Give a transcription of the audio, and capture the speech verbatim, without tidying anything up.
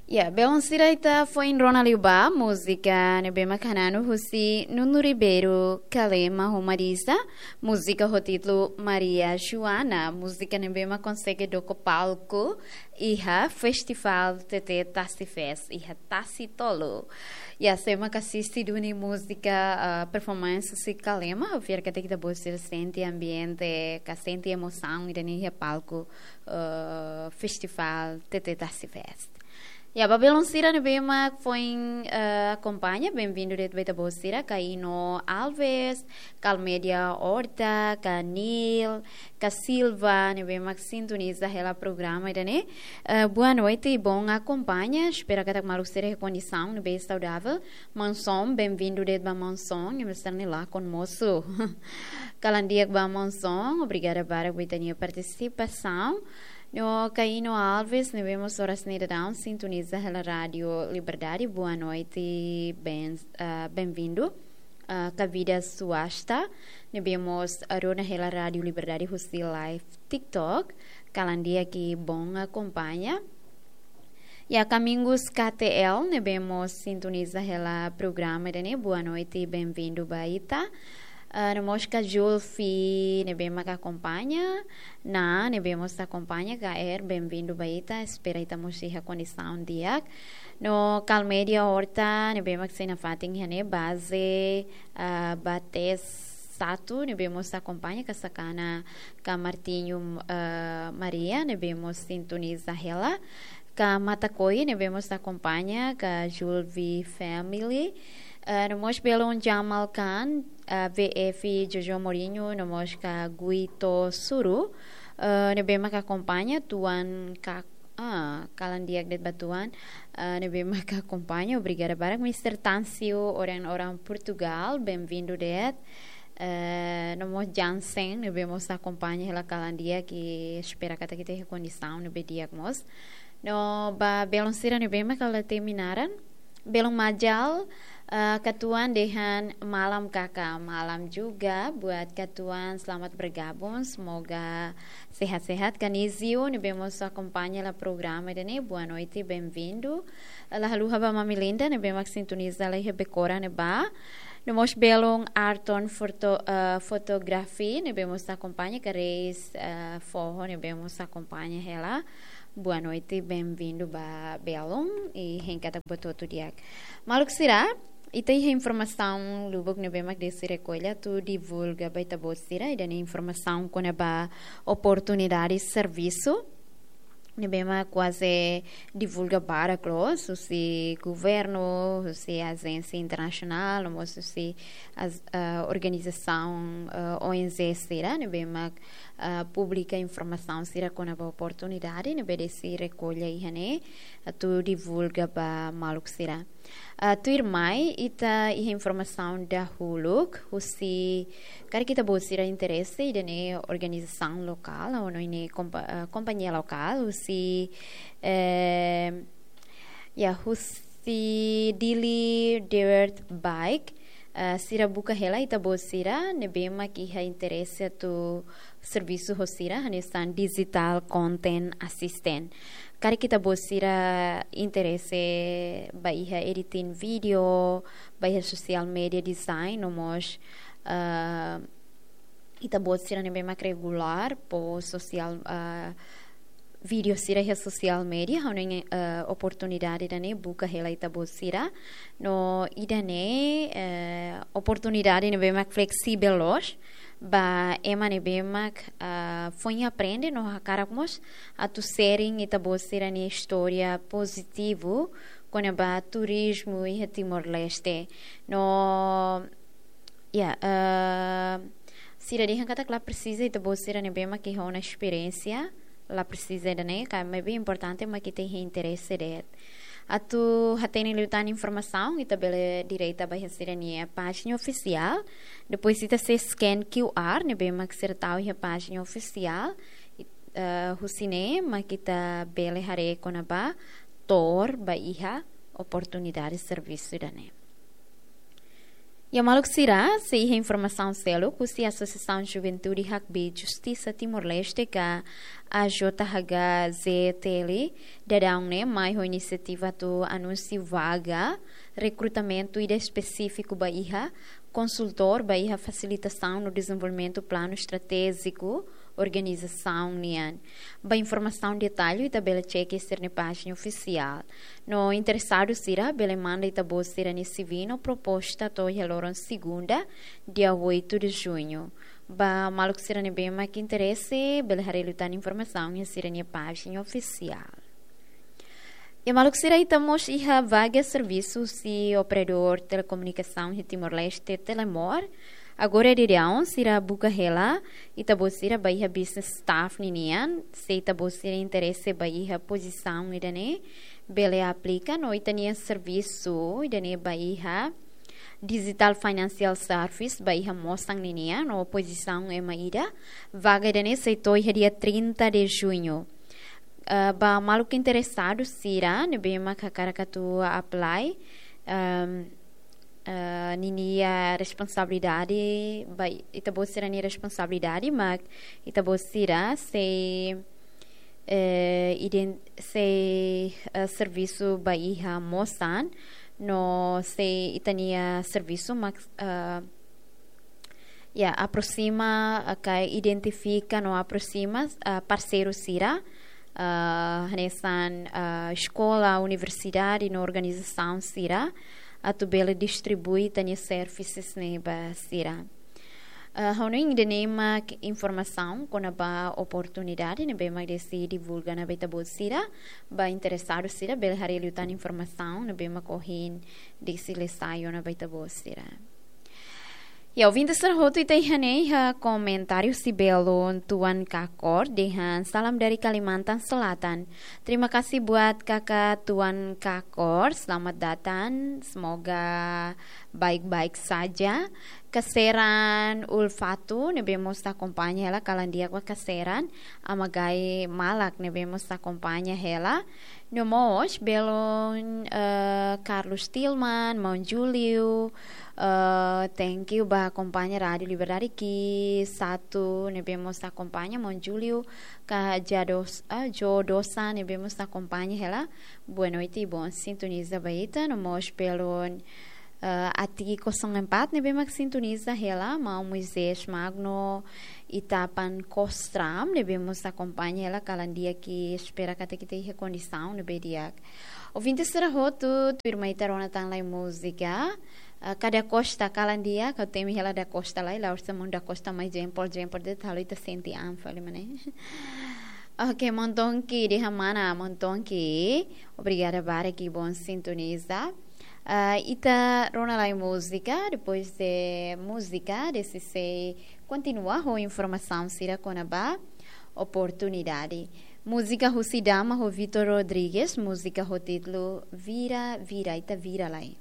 Ya, belun sira, ita foin rona liu ba múzika ne'ebé mak hananu husi Nuno Ribeiro, Kalema ho Marisa, múzika ho títulu Maria Joana, múzika ne'ebé mak konsege doko palku iha Festival T T Tasi Fest, iha Tasi Tolu. Ya, sé mak asiste duni múzika, ah, performance husi Kalema, fiar katak ita-boot sira sente ambiente, ka sente emosaun ida-ne'e iha palku, ah, Festival T T Tasi Fest. Ya, ba belun sira ne'ebé mak foin, eh, akompaña, benvindu de'it ba ita-boot sira, Kaino Alves, Kalmedia Horta, Kanil, Ka Silva, ne'ebé mak sintoniza hela programa ida-ne'e. Eh, boa noite, bom akompaña, espera katak maluk sira iha kondisaun ne'ebé saudavel. Manson, benvindu de'it ba Manson, imi sira-nia lakon mosu. Kalan di'ak ba Manson, obrigada barak ba ita-nia partisipasaun. No Kaino Alves, ne'ebé mós oras ne'e daudaun sintoniza hela Rádio Liberdade. Boa noite, ben, ah, benvindu. Ah, Kavida Suasta, ne'ebé mós rona hela Rádio Liberdade husi live TikTok. Kalan di'ak i bom akompaña. Ya, Kamingus K T L, ne'ebé mós sintoniza hela programa ida-ne'e. Boa noite, benvindu ba ita. Ah, no mós Ka Julfi, ne'ebé mak akompaña. Na, ne'ebé mós akompaña, K R, benvindu ba ita. Espera ita mós iha kondisaun di'ak. No Kalmedia Horta, ne'ebé mak sei nafatin iha ne'e, baze, ah, Bates Satu, ne'ebé mós akompaña, Ka Sakana, Ka Martinho, ah, Maria, ne'ebé mós sintoniza hela. Ka Matakoi, ne'ebé mós akompaña, Ka Julvi Family. Eh, no mós belun Jamal Khan, eh, V F Jojo Mourinho, no mós Ka Guito Suru, eh, ne'ebé mak akompaña, Tuan Ka, ah, kalan di'ak de'it ba Tuan, eh, ne'ebé mak akompaña, obrigada barak, Mister Tansio, orang-orang Portugal, benvindu de'it. Eh, no mós Jansen, ne'ebé mós akompaña hela kalan di'ak, i espera katak ita iha kondisaun ne'ebé di'ak mós. No ba belun sira ne'ebé mak la hatene naran, belun Majal, eh, Ka Tuan dehan malam Kaka, malam juga buat Ka Tuan, selamat bergabung, semoga sehat-sehat. Kanizio, ne'ebé mós akompaña hela programa ida-ne'e, boa noite, benvindu. La haluha ba Mami Linda, ne'ebé mak sintoniza hela iha Becora ne'ebá. No mós belun Arton Foto-, eh, Fotografi, ne'ebé mós akompaña, Ka Reis, eh, Foho, ne'ebé mós akompaña hela. Boa noite, benvindu ba belun, i hein katak buat hotu di'ak. Maluk sira, ita iha informasaun lubuk ne'ebé mak desi rekolla atu divulga ba ita-boot sira, ida-ne'e informasaun kona-ba oportunidade servisu ne'ebé mak kuaze divulga barak loos, husi governu, husi ajénsia internasionál, no mós husi as-, ah, organizasaun, ah, O N G sira, ne'ebé mak, ah, publika informasaun sira kona-ba oportunidade ne'ebé desi rekolla iha ne'e, atu divulga ba maluk sira. Ah, tuirmai, ita iha informasaun dahuluk, husi, karik ita-boot sira interese, ida-ne'e organizasaun lokál, ou no ida-ne'e kompa-, ah, kompañia lokál, husi, eh, ya, husi Dili Dirt Bike, ah, sira buka hela ita-boot sira, ne'ebé mak iha interese atu servisu ho sira, hanesan digital content assistant. Karik ita-boot sira interese ba iha editing video, ba iha social media design, no mós, ah, ita-boot sira ne'ebé mak regulár, post social, ah, video sira iha social media, ha'u hanoin, eh, oportunidade ida-ne'e buka hela ita-boot sira. No ida-ne'e, eh, oportunidade ne'ebé mak fleksível loos, ba ema ne'ebé mak, ah, foin aprende no hakarak mós atu sharing ita-boot sira-nia istória pozitivu kona-ba turizmu iha Timor-Leste. No, ya, ah, sira dehan katak la presiza ita-boot sira ne'ebé mak iha ona esperiénsia, la presiza ida-ne'e, ka maibé importante mak ita iha interese de'it. Atu hatene liután informasaun, ita bele direta ba iha sira-nia pájina ofisiál. Depois ita sei scan Q R, ne'ebé mak sira tau iha pájina ofisiál. I, eh, husi ne'e mak ita bele haree kona-ba to'o ba iha oportunidade servisu ida-ne'e. Ya maluk sira, sei iha informasaun seluk husi Asosiasaun Juventude Hakbiit Justisa Timor-Leste ka A J H G Z T L, daudaun ne'e mai ho inisiativa atu anunsia vaga rekrutamentu ida espesífiku ba iha konsultór ba iha fasilitasaun no dezenvolvimentu planu estratéjiku organizasaun nian. Ba informasaun detallu ita bele txeke sira-nia pájina ofisiál. No interesadu sira bele manda ita-boot sira-nia C V no proposta to'o iha loron segunda, dia oito de junho. Ba maluk sira ne'ebé mak interese, bele haree liután informasaun iha sira-nia pájina ofisiál. Ya maluk sira, ita mós iha vaga servisu husi operadór telekomunikasaun iha Timor-Leste, Telemor. Agora daudaun sira buka hela ita-boot sira ba iha business staff ninian. Se ita-boot sira interese ba iha pozisaun ida-ne'e, bele aplika. No ita-nia servisu ida-ne'e ba iha Digital Financial Service ba iha mosan ninian, no pozisaun ema ida. Vaga ida-ne'e sei to'o iha dia trinta de junho. Eh, ba maluk interesadu sira ne'ebé mak hakarak atu apply, ehm, eh, ninia responsabilidade, ba ita-boot sira-nia responsabilidade mak ita-boot sira sei, eh, iden-, sei, eh, servisu ba iha mosan, no sei ita-nia servisu mak, eh, ya, aproxima, eh, ka identifika no aproxima, eh, parseiru sira, eh, hanesan, eh, eskola, universidade no organizasaun sira, atu bele distribui ita-nia services ne'e ba sira. Eh, ha'u hanoin ida-ne'e mak informasaun kona-ba oportunidade ne'ebé mak Desi divulga ona ba ita-boot sira. Ba interesadu sira bele haree liután informasaun ne'ebé mak ohin Desi lesa ona ba ita-boot sira. Ya, ouvinte sira hotu, ita iha ne'e iha komentáriu husi belun Tuan Kakor, dehan salam dari Kalimantan Selatan. Terima kasih buat kakak Tuan Kakor, selamat datang, semoga baik-baik saja. Kaseran Ulfatu ne'ebé mós akompaña hela, kalan di'ak ba Kaseran, Ama Gai Malak ne'ebé mós akompaña hela. No mós belun, eh, Carlos Tilman, Maun Julio, eh, thank you ba akompaña Rádiu Liberdade ki satu ne'ebé mós akompaña, Maun Julio, ka Jados, eh, Jodosa ne'ebé mós akompaña hela. Boa noite, bom sintoniza ba ita, no mós belun, eh, Ati kosong empat ne'ebé mak sintoniza hela, Maun Moisés Magno, Itapan Kostram ne'ebé mós akompaña hela, kalan di'ak, espera katak ita iha kondisaun ne'ebé di'ak. Ouvinte sira hotu, tuirmai ita rona tan lai múzika. Ah, ka Da Costa, kalan di'ak, ha'u temi hela Da Costa lai, la'ós maun Da Costa mai jempol, jempol de'it, halo ita sente an fali mak ne'e. Ok, Montonki, dehan mana, Montonki. Obrigada barak, bom sintoniza. Ah, ita rona lai múzika, depois de múzika, Desi sei kontinua ho informasaun sira kona-ba oportunidade. Múzika husi Dama ho Vitor Rodrigues, múzika ho títulu Vira, Vira, ita vira lai.